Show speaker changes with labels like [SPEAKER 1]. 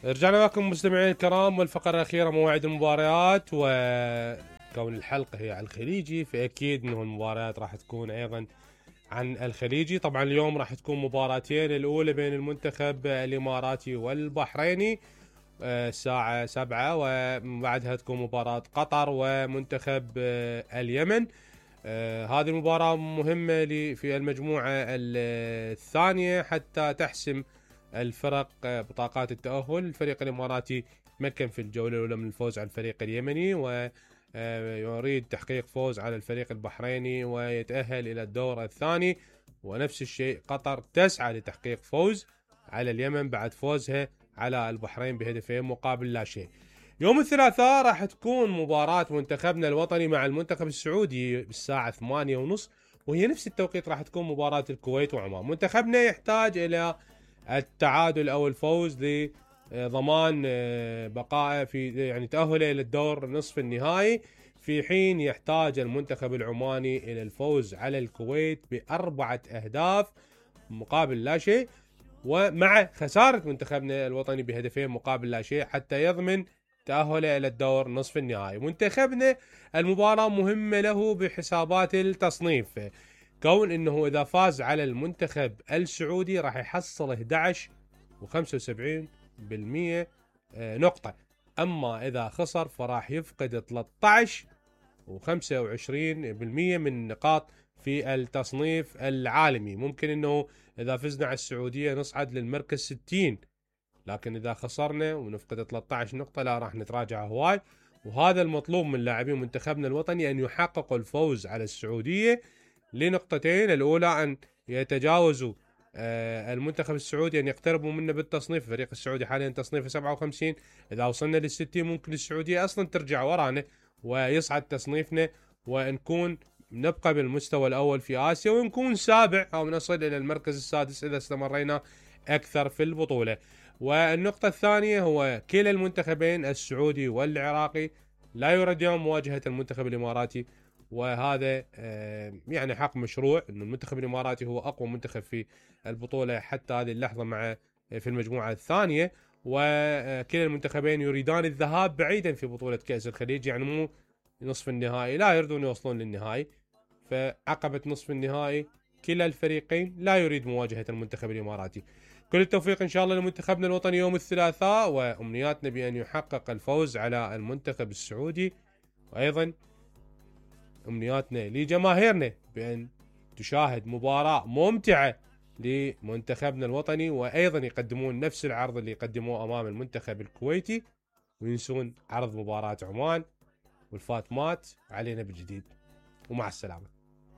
[SPEAKER 1] رجعنا لكم مستمعين الكرام، والفقرة الأخيرة موعد المباريات، وكون الحلقة هي عن الخليجي فأكيد أنه المباريات راح تكون أيضا عن الخليجي. طبعا اليوم راح تكون مباراتين، الأولى بين المنتخب الإماراتي والبحريني الساعة 7، وبعدها تكون مباراة قطر ومنتخب اليمن. هذه المباراة مهمة في المجموعة الثانية حتى تحسم الفرق بطاقات التأهل. الفريق الإماراتي تمكن في الجولة الأولى من الفوز على الفريق اليمني، ويريد تحقيق فوز على الفريق البحريني ويتأهل إلى الدور الثاني. ونفس الشيء قطر تسعى لتحقيق فوز على اليمن بعد فوزها على البحرين بهدفين مقابل لا شيء. يوم الثلاثاء راح تكون مباراة منتخبنا الوطني مع المنتخب السعودي بالساعة 8:30، وهي نفس التوقيت راح تكون مباراة الكويت وعمان. منتخبنا يحتاج إلى التعادل أو الفوز لضمان بقائه في يعني تأهله إلى الدور نصف النهائي، في حين يحتاج المنتخب العماني إلى الفوز على الكويت ب4 أهداف مقابل لا شيء، ومع خسارة منتخبنا الوطني بهدفين مقابل لا شيء حتى يضمن تأهله إلى الدور نصف النهائي. منتخبنا المباراة مهمة له بحسابات التصنيف، كون انه اذا فاز على المنتخب السعودي راح يحصل 11 و75% نقطة، اما اذا خسر فراح يفقد 13 و25% من نقاط في التصنيف العالمي. ممكن انه اذا فزنا على السعودية نصعد للمركز 60، لكن اذا خسرنا ونفقد 13 نقطة لا راح نتراجع هواي. وهذا المطلوب من لاعبين منتخبنا الوطني، ان يحققوا الفوز على السعودية لنقطتين: الاولى ان يتجاوزوا المنتخب السعودي، ان يقتربوا منه بالتصنيف. الفريق السعودي حاليا تصنيفه 57، اذا وصلنا لل60 ممكن السعودية اصلا ترجع ورانا ويصعد تصنيفنا، ونكون نبقى بالمستوى الاول في اسيا، ونكون سابع او نصل الى المركز السادس اذا استمرينا اكثر في البطولة. والنقطة الثانية هو كلا المنتخبين السعودي والعراقي لا يريدون مواجهة المنتخب الاماراتي، وهذا يعني حق مشروع انه المنتخب الاماراتي هو اقوى منتخب في البطولة حتى هذه اللحظة مع في المجموعة الثانية، وكلا المنتخبين يريدان الذهاب بعيدا في بطولة كأس الخليج، يعني مو نصف النهائي، لا يريدون يوصلون للنهائي. فعقبة نصف النهائي كلا الفريقين لا يريد مواجهة المنتخب الاماراتي. كل التوفيق ان شاء الله لمنتخبنا الوطني يوم الثلاثاء، وامنياتنا بان يحقق الفوز على المنتخب السعودي، وايضا امنياتنا لجماهيرنا بان تشاهد مباراة ممتعة لمنتخبنا الوطني، وايضا يقدمون نفس العرض اللي قدموه امام المنتخب الكويتي، وينسون عرض مباراة عمان والفاتمات علينا بالجديد. ومع السلامة.